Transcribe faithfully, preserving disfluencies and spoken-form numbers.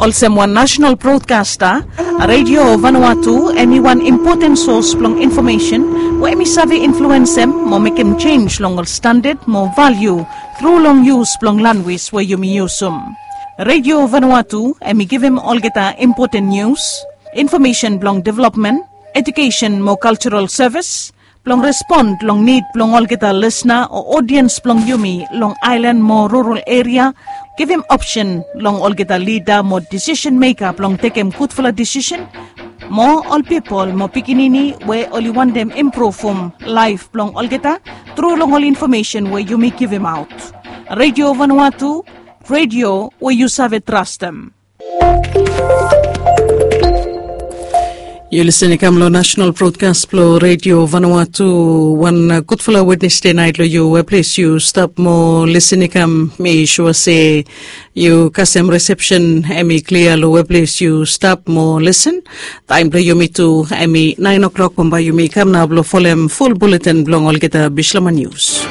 Olsem wan nasenal brodkasta, Radio Vanuatu em i wan impoten sos blong infomesen we em i save influensem mo mekem jenj long ol standad mo valiu tru long yus blong lanwis we yumi yusum. Radio Vanuatu em i givim olgeta impoten nius, infomesen blong developmen, ejukesen mo kaljaral sevis, blong respon long nid blong olgeta lisna o odiens blong yumi long aelan mo rural eria, givim opsen long olgeta lida mo disisen meka blong tekem gudfala disisen, mo ol pipol mo pikinini we oli wantem impruvum laef blong olgeta tru long ol infomesen we yumi givimaot. Radio Vanuatu, radio we yu save trastem. Yu lisen i kam long nasenal brodkas blong Radio Vanuatu. Wan gudfala Wednesde nait long yu, we ples yu stap mo lisen i kam. Mi sua se yu kasem resepsen em i klia long we ples yu stap mo lisen. Taem blong yumi tu em i naen o'klok, bambae yumi kam nao blong folem ful buletin blong olgeta bislama nius.